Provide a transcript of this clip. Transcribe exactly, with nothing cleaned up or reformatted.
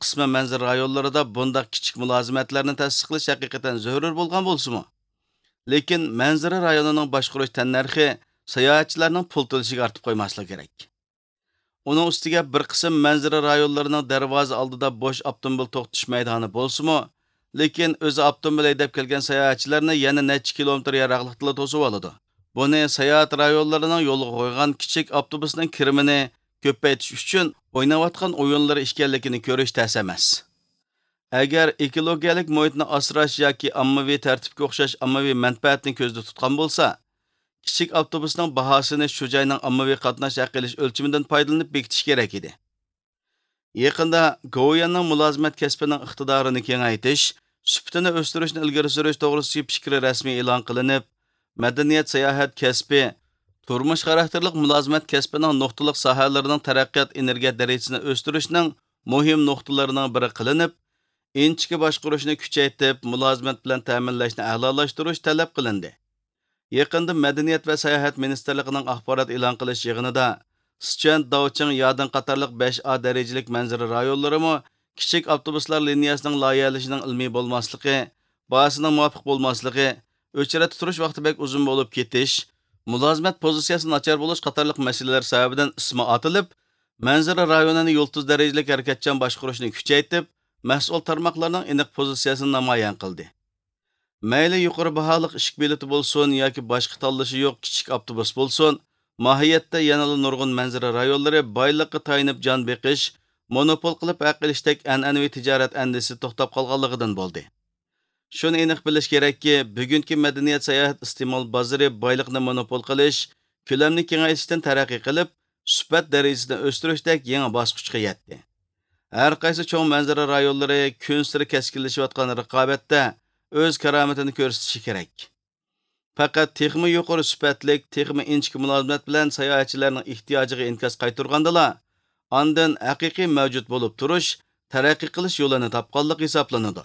قىسمى مەنزىرە رايونلىرىدا بۇنداق كىچىك مۇلازىمەتلەرنى تەسىس قىلىش ھەقىقەتەن زۆرۈر بولغان بولسىمۇ، لېكىن مەنزىرە رايونىنىڭ باشقۇرۇش تەننەرخى ساياھەتچىلەرنىڭ پۇل تۆلىشىگە ئارتىپ قويماسلىقى كېرەك. ئۇنىڭ ئۈستىگە بىر قىسىم مەنزىرە رايونلىرىنىڭ دەرۋازا ئالدىدا بوش ئاپتوموبىل توختىتىش مەيدانى بولسىمۇ، لېكىن ئۆزى ئاپتوموبىل ھەيدەپ كەلگەن ساياھەتچىلەرنى يەنە نەچچە كىلومېتىر يىراقلىقتىلا توسۇۋالىدۇ. بۇنى ساياھەت رايونلىرىنىڭ يولغا قويغان كىچىك ئاپتوبۇسنىڭ كىرىمىنى كۆپەيتىش ئۈچۈن ئويناۋاتقان ئويۇنلىرى ئىكەنلىكىنى كۆرۈش تەس ئەمەس. ئەگەر ئېكولوگىيەلىك مۇھىتنى ئاسراش ياكى ئاممىۋى تەرتىپكە ئوخشاش ئاممىۋى مەنپەئەتنى كۆزدە تۇتقان بولسا، كىچىك ئاپتوبۇسنىڭ باھاسىنى شۇ جاينىڭ ئاممىۋى قاتناش ھەق ئېلىش ئۆلچىمىدىن پايدىلىنىپ بېكىتىش كېرەك ئىدى. يېقىندا گوۋۇيۈەننىڭ مۇلازىمەت كەسپىنىڭ ئىقتىدارىنى كېڭەيتىش، سۈپىتىنى ئۆستۈرۈشنى ئىلگىرى سۈرۈش توغرىسىدىكى پىكرى رەسمىي ئېلان قىلىنىپ، مەدەنىيەت، ساياھەت كەسپى، تۇرمۇش خاراكتېرلىق مۇلازىمەت كەسپىنىڭ نۇقتىلىق ساھەلىرىنىڭ تەرەققىيات ئېنېرگىيە دەرىجىسىنى ئۆستۈرۈشنىڭ مۇھىم نۇقتىلىرىنىڭ بىرى قىلىنىپ، ئىنچىكە باشقۇرۇشنى كۈچەيتىپ، مۇلازىمەت بىلەن تەمىنلەشنى ئەلالاشتۇرۇش تەلەپ قىلىندى. يېقىندا مەدەنىيەت ۋە ساياھەت مىنىستىرلىقىنىڭ ئاخبارات ئېلان قىلىش يىغىنىدا، سىچۈەن، داۋچىڭ، يادىڭ قاتارلىق بەش ئا دەرىجىلىك مەنزىرە رايونلىرىمۇ كىچىك ئاپتوبۇسلار لىنىيەسىنىڭ لايىھەلىشىنىڭ ئىلمىي بولماسلىقى، باھاسىنىڭ مۇۋاپىق بولماسلىقى، ئۆچرەتتە تۇرۇش ۋاقتى بەك ئۇزۇن بولۇپ كېتىش، مۇلازىمەت پوزىتسىيەسى ناچار بولۇش قاتارلىق مەسىلىلەر سەۋەبىدىن ئىسمى ئاتىلىپ، مەنزىرە رايونىنى يۇلتۇز دەرىجىلىك ھەرىكەتچان باشقۇرۇشنى كۈچەيتىپ، مەسئۇل تارماقلارنىڭ ئېنىق پوزىتسىيەسىنى نامايان قىلدى. مەيلى يۇقىرى باھالىق ئىشىك بېلىتى بولسۇن ياكى باشقا تاللىشى يوق كىچىك ئاپتوبۇس بولسۇن، ماھىيەتتە يەنىلا نۇرغۇن مەنزىرە رايونلىرى بايلىققا تايىنىپ جان بېقىش، مونوپول قىلىپ ھەق ئېلىشتەك ئەنئەنىۋى تىجارەت ئەندىزىسى توختاپ قالغانلىقىدىن بولدى. شۇنى ئېنىق بىلىش كېرەككى، بۈگۈنكى مەدەنىيەت ساياھەت ئىستېمال بازىرى بايلىقنى مونوپول قىلىش، كۆلەمنى كېڭەيتىشتىن تەرەققىي قىلىپ، سۈپەت دەرىجىسىنى ئۆستۈرۈشتەك يېڭى باسقۇچقا يەتتى. ھەر قايسى چوڭ مەنزىرە رايونلىرى كۈنسېرى كەسكىنلىشىۋاتقان رىقابەتتە ئۆز كارامىتىنى كۆرسىتىشى كېرەك. پەقەت تېخىمۇ يۇقىرى سۈپەتلىك، تېخىمۇ ئىنچىكە مۇلازىمەت بىلەن ساياھەتچىلەرنىڭ ئېھتىياجىغا ئىنكاس قايتۇرغاندىلا، ئاندىن ھەقىقىي مەۋجۇت بولۇپ تۇرۇش، تەرەققىي قىلىش يولىنى تاپقانلىق ھېسابلىنىدۇ.